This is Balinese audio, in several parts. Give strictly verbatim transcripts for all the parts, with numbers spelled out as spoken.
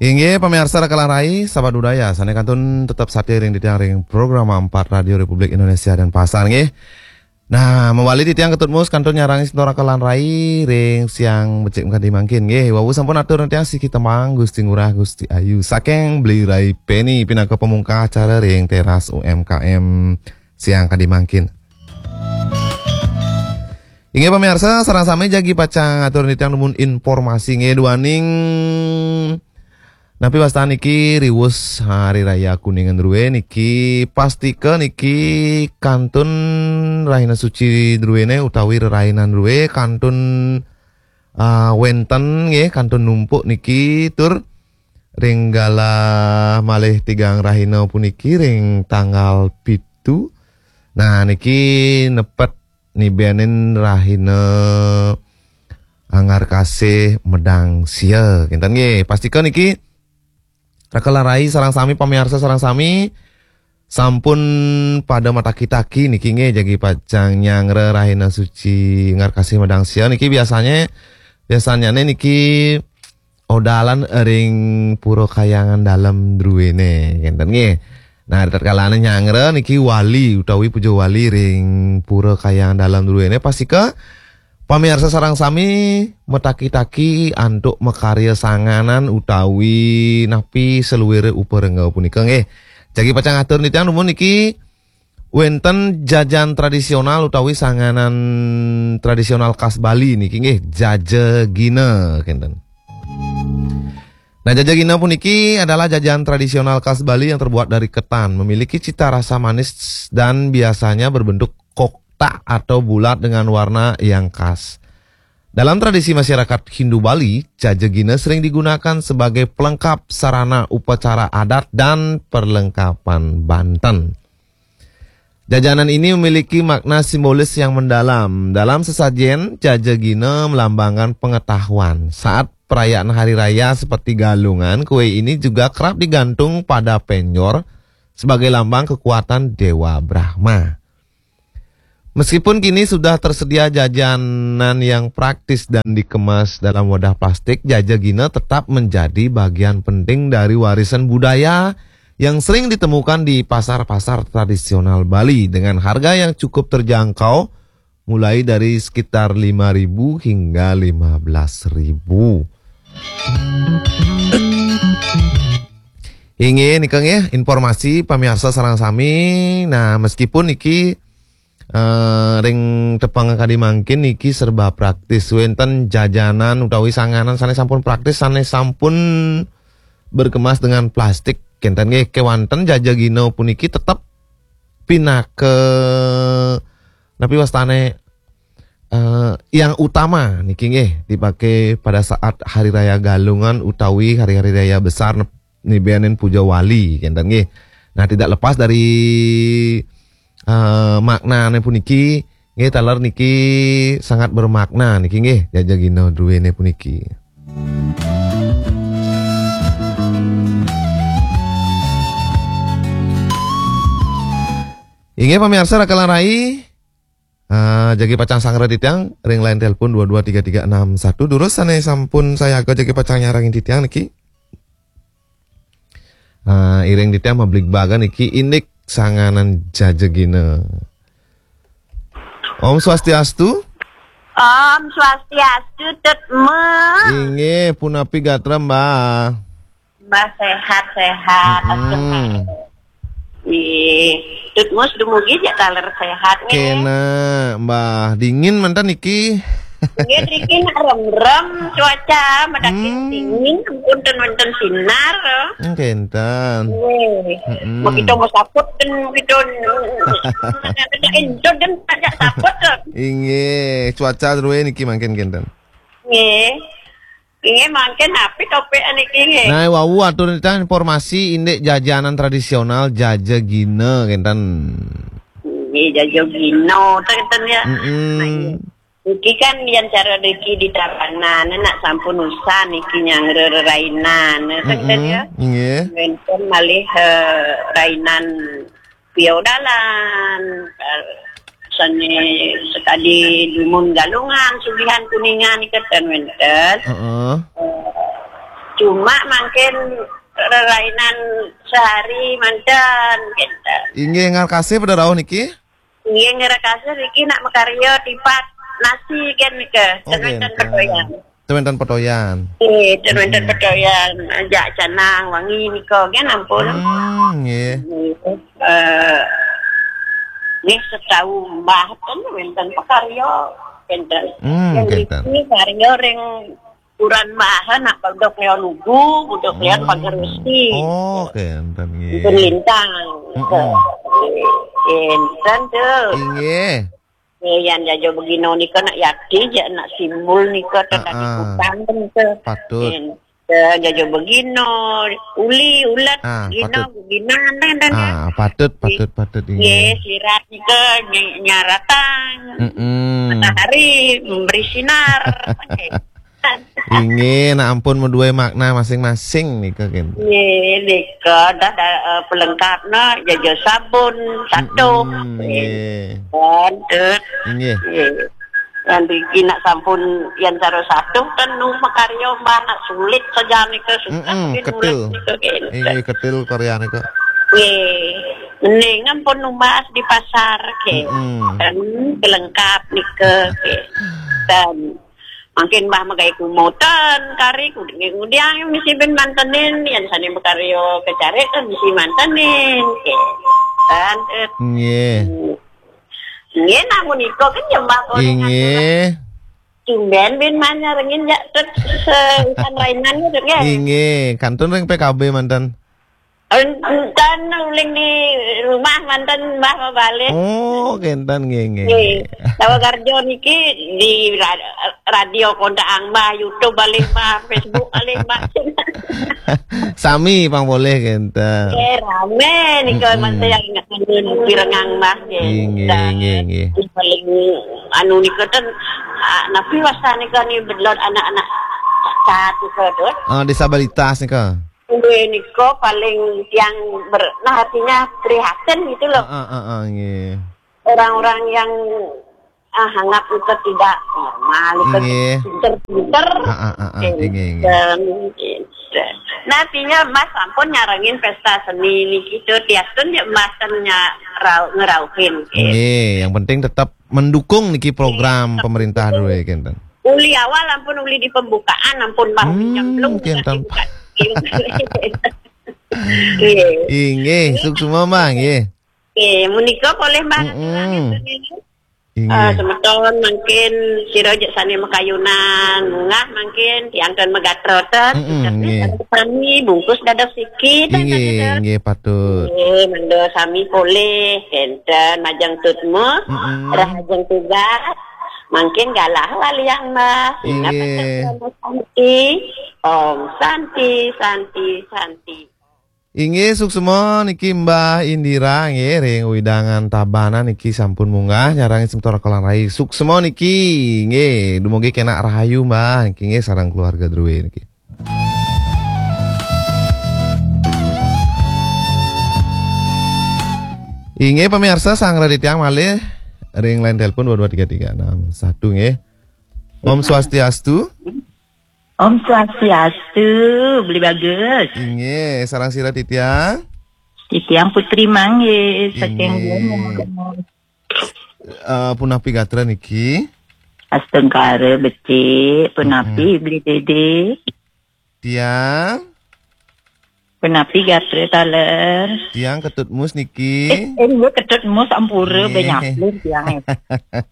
Inggih, pamiarsa Raka lan Rai, sahabat budaya, sané kantun tetep satia ring titiang ring Program empat Radio Republik Indonesia Denpasar, nggih. Nah, mawali titiang Ketut Mus kantun nyarengin semeton Raka lan Rai ring siang becik kadi mangkin, nggih. Wau sampun atur titiang siki tembang Gusti Ngurah Gusti Ayu saking Beli Rai Peni pinaka pamungkas acara ring teras U M K M siang kadi mangkin. Inggih pamiarsa, sareng sami jagi pacang atur titiang dumun informasi nggih duaning napi wastan niki riwus Hari Raya Kuningan drué niki, pastika niki kantun rahina suci druéné utawi rerainan drué kantun, ah, wénten nggih, kantun numpuk niki tur ring galah malih tigang rahina puniki ring tanggal pitu. Nah, niki nepet nibénin rahina Angarkasih Medang Sia. Kénten nggih, pastika niki Raka lan Rai sareng sami, pamiarsa sareng sami sampun pada mataki-taki niki nggih, jagi pacang nyanggra rahina suci Angarkasih Medang Sia niki biasanya, biasanya niki odalan ring Pura Kahyangan Dalem druéné, kénten nggih. Nah, ritatkalané nyanggra niki wali utawi puja wali ring Pura Kahyangan Dalem druéné, pastika pamiarsa sareng sami mataki-taki antuk makarya sanganan utawi napi saluiré uparengga punika nggih. Jagi pacang atur titiang dumun niki wénten jajan tradisional utawi sanganan tradisional khas Bali niki nggih, jajagina kénten. Nah, jajagina puniki adalah jajan tradisional khas Bali yang terbuat dari ketan, memiliki cita rasa manis dan biasanya berbentuk kotak atau bulat dengan warna yang khas. Dalam tradisi masyarakat Hindu Bali, jajagina sering digunakan sebagai pelengkap sarana upacara adat dan perlengkapan banten. Jajanan ini memiliki makna simbolis yang mendalam. Dalam sesajen, jajagina melambangkan pengetahuan. Saat perayaan hari raya seperti Galungan, kue ini juga kerap digantung pada penjor sebagai lambang kekuatan Dewa Brahma. Meskipun kini sudah tersedia jajanan yang praktis dan dikemas dalam wadah plastik, jajagina tetap menjadi bagian penting dari warisan budaya yang sering ditemukan di pasar-pasar tradisional Bali dengan harga yang cukup terjangkau, mulai dari sekitar lima ribu hingga lima belas ribu. Inggih nika nggih informasi pamiarsa sareng sami. Nah, meskipun niki, eh, ring tepang kadi mangkin niki serba praktis, wénten jajanan utawi sanganan sané sampun praktis, sané sampun berkemas dengan plastik, kénten nggih, kéwanten jajagina puniki tetep pinaka napi wastané, eh, yang utama niki nggih dipakai pada saat hari raya Galungan utawi hari-hari raya besar nep-, nibénin puja wali, kénten nggih. Nah, tidak lepas dari, eh, maknané puniki nggih, taler niki sangat bermakna niki nggih, jajagina druéné puniki. Inggih pamiarsa Raka lan Rai, ah, jagi pacang sanggra titiang ring line telepon dua dua tiga tiga enam satu. Durus sané sampun sayaga jagi pacang nyarengin titiang niki. Ah, iring titiang mabligbagan niki indik sanganan jajagina. Om Swastiastu. Om Swastiastu, Tut Mus. Inggih, punapi gatra, Mbah? Mbah sehat-sehat. Mm-mm. Nggih. Tut Mus dumugi jak taler sehat nggih. Kéné, Mbah, dingin manten niki. Nggih, niki nak rem-rem cuaca, madaki Hmm. dingin, punten wénten sinar. Hmm, kénten. Nggih. Mm-mm. Begitu mau saput kan, begitu, entot dan ajak saput kan. Inggih, cuaca drué niki mangkin kénten. Nggih. Inggih, mangkin napi topik niki nggih? Nah, wau atur titiang informasi indik jajanan tradisional jajagina kénten. Nggih, jajagina, kénten ya. Mm-mm. Nah, iya. Niki kan yén cara niki di Tabanan, nak sampun usah niki nyanggra rerainan, kénten Mm-mm. ya. Nggih. Wénten malih, eh, rainan piodalan, eh, sané sakadi dumun Galungan, Sugihan, Kuningan, kénten wénten. Heeh. Eh, Cuma mangkin rerainan sehari manten, gitu. Inggih, ngarkasih pada rauh niki? Inggih, ngarkasih niki nak makarya tipat nasi kan nika. Oh, ten wénten petoyan. Ten wénten petoyan. Eh, ten wénten petoyan. Jak canang wangi nika kan ampun. Hmm, nggih. Eh, nggih, setau Mbah ten wénten pakarya, kenten. Hmm, kenten. Niki karya ring Kuran Mbah, nak budok Leon Ugu, budok Leon Pagar Besi. Oh, kenten, nggih. Itu lintang. Mm-mm. Kenten tuh. Inggih. Eh, yan jajo begino nika nak yati, ja nak simbol nika, tadi kutang nika. Patut. Kenten, jajo begino, uli, ulet, ah, gino, patut. Gino, dan, dan, ah, patut, patut, patut, inggih. Nggih, sirat nika ny-, nyaratang. Mm-mm. Matahari memberi sinar. Inggih, nak ampun madué makna masing-masing nika, kenten. Nggih, nika dah, dah, eh, pelengkapna, jaja sabun, satu. Mm-mm, nggih. Nggih. Nggih. Yan niki nak sampun yan cara satu kan nu makarya Mbah nak sulit saja nika, susah. Mm-mm, nggih, ketil. Nulis nika, kenten. Inggih, ketil karya nika. Nggih. Mending ampun numbas di pasar, kenten. Mm-mm. Kan pelengkap nika, kenten. Mangkin Mbah magaé kumotan, kari, ngudiang misi bin mantenin, yan sané makarya kecarik kan misi mantenin. Nggih. Kan, eh, nggih. Hmm. Nggih, namun iko kan ya Mbah boleh ngatur. Inggih. Tumben bin manyarengin ya, terus se-, urusan rainan gitu, nggih. Inggih, kantun ring P K B manten. Enten uling di rumah manten Mbah mabalih. Oh, kenten, nggih, nggih. Nggih. Tawa kerja niki di ra-, radio kontak Mbah, YouTube balik Mbah, Facebook balik Mbah. Sami pang boleh kenten. Nggih, rame nika. Mm-mm. Manten yang ingat pirengang Mbah, nggih. Nggih, nggih, nggih, nggih. Paling anu nika ten, ah, napi wasta nika ni bedlot anak-anak cacat nika, Dut? Ah, disabilitas nika. Nggih, nika paling tiang ber-, nah, artinya prihatin gitu loh. Ah, ah, ah, ah, nggih. Orang-orang yang, ah, anggap itu tidak normal, itu pinter-pinter. Ah, ah, ah, ah, nggih, nggih. Pinter, pinter. Nah, artinya Mas ampun nyarengin pesta seni niki tuh, tiastun ya Mas kan nya-, rau-, ngerauhin, nggih. Nggih, yang penting tetap mendukung niki program pemerintah dulu ya, kenten. Uli awal ampun, uli di pembukaan ampun, Mbah, hmm, nyemplung kenten. Nggih. Inggih, suksma, Mbah, nggih. Nggih, menika boleh, Mbah. Mm-mm. Inggih. Ah, semeton mangkin sira jek sane makayunan, munggah mangkin tiang ten megatroten. Mm-mm, nggih. Sami bungkus dados siki, ten, inggih, ten, ten. Nggih, patut. Nggih, mendo sami polih, kenten majeng tutmu, mm-mm, rahajeng tugas. Mangkin galah waliang, Mbah. Inggih. Ingat pesan Santi. Om Santi, Santi, Santi. Inggih, suksma niki Mbah Indira, nggih, ring wewidangan Tabanan niki sampun munggah nyarengin semeton Rakalan Rai. Suksma niki, nggih, dumugi kenak rahayu, Mbah. Niki, nggih, sareng keluarga druwe niki. Inggih, pemirsa, sareng titiang malih ring line telepon dua dua tiga tiga enam satu, nggih. Om Swastiastu. Om Swastiastu, Beli Bagus. Inggih, sareng sira titiang? Titiang Putri Mangge, saking, inggih, Gunung. Eh, punapi gatra niki? Astungkara becik, punapi, mm-mm, Beli Dede? Tiang? Punapi gatra taler? Tiang Ketut Mus niki. Eh, eh, iya, Ketut Mus, ampura, nggih, benyaplir tiang, eh.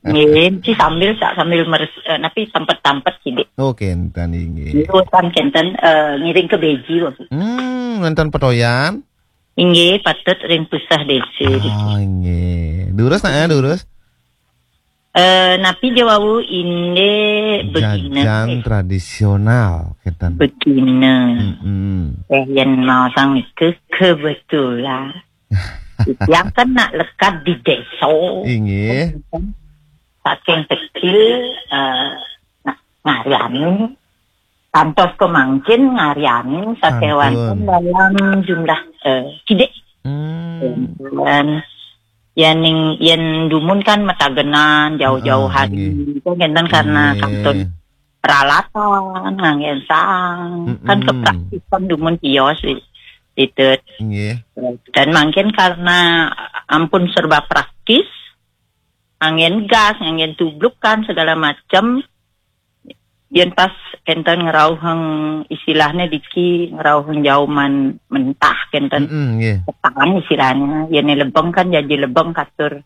Nggih, mesti sambil, sak sambil meres-, eh, napi tampet-tampet sidik. Oh, kenten, inggih. Nggih, urusan kenten, eh, ngiring ke beji, Bapak. Hmm, nonton petoyan? Inggih, patut ring pusah desa. Ah, nggih. Durus nak ya, durus? Eh, napi ja wau inde begina, jajan, eh, tradisional, kenten. Begina. Mm-mm. Eh, yen mau sang ke-, kebetulan. Yang kena lekat di desa. Inggih. Saking kecil, eh, na-, ngaryanin. Kantos kemangkin ngaryanin sakewanten, sampun, dalam jumlah, eh, sidik. Hmm. Dan yen ning, yen dumun kan metagenan jauh-jauh, ah, hari. Inggih. Itu ngenten karena, inggih, kantun peralatan, nganggen sang, kan ke praktisan dumun tios di, di tut. Nggih. Dan mangkin karena ampun serba praktis, nganggen gas, nganggen tubluk kan segala macam. Yen pas kenten ngerauheng istilahnya diki ngerauheng jauman mentah kenten Mm-mm, nggih. ketan istilahnya. Yen lebeng kan jadi lebeng katur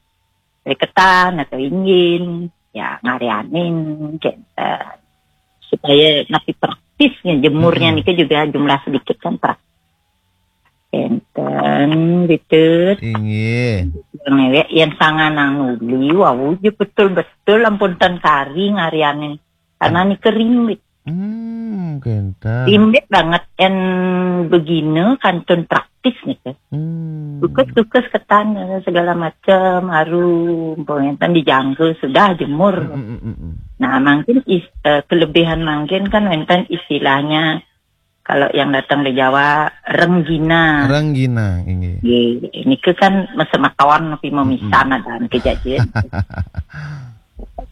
dari ketan atau ingin ya ngarianin kenten supaya napi praktisnya jemurnya Mm-mm. Niki juga jumlah sedikit kan praktis. Kenten gitu. Inggih. Yang newek yang sanganang nuli wau je betul-betul ampun ten kari ngarianin karena Niki rimbit. Hmm, kenten. Rimbit banget en begini kantun praktis Niki. Hmm. Kukus-kukus ketan segala macam harum, pengenten dijangkau sudah jemur. Mm, mm, mm, mm. Nah, mungkin is, eh, kelebihan mungkin kan wenten istilahnya kalau yang datang dari Jawa renggina. Renggina, inggih. Ye, ini ke kan masa makawan tapi memisah ada kejadian.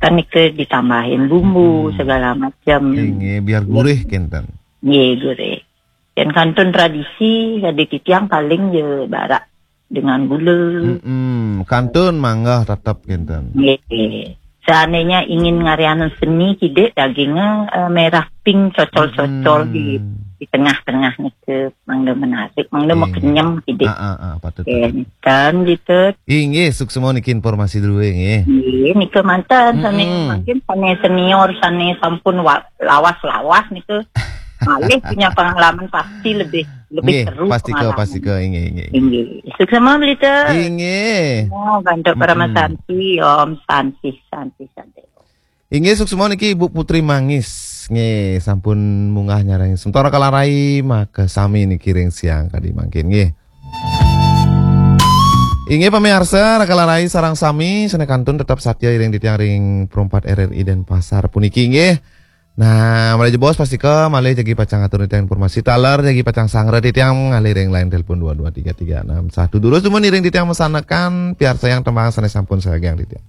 Kan ini ke ditambahin bumbu Hmm. segala macam. Inggih, biar gurih kenten. Ye, gurih. Dan kantun tradisi jadi titiang paling je barak dengan gula. Mm-mm. Kantun mangga tetap kenten. Ye. Seandainya ingin ngarianan seni kidik dagingnya eh, merah pink cocol-cocol Hmm. di di tengah-tengah Niki mangga menarik, mangga Iya. Mekenyem kidik. Ah, ah, ah, patut. Kenten gitu. Inggih, suksema niki informasi dulu nggih. Iya, Niki mantan sana Mm-mm. mungkin sana senior sana sampun wa- lawas-lawas Niki malih punya pengalaman pasti lebih lebih Nggih, seru pasti ke pengalaman. Pasti ke inggih inggih. Inggih. Suksema Melita. Inggih. Oh, bantu para Mm-mm. santi, Om santi santi santi. Inggih suksema niki Ibu Putri Mangis. Nggih, sampun munggah nyarang sementara kalarai maka sami niki ring siang kadi mangkin nggih. Inggih pamiarsa, Rakalarai sareng sami sané kantun tetep satya iring titiang ring perempat R R I Denpasar puniki nggih. Nah, malih jebos pastika malih jagi pacang atur titiang informasi taler jagi pacang sangra titiang ngalih ring line telepon dua dua tiga tiga enam satu. Durus dumun iring titiang masanekan piarsayang tembang sané sampun sagiang titiang.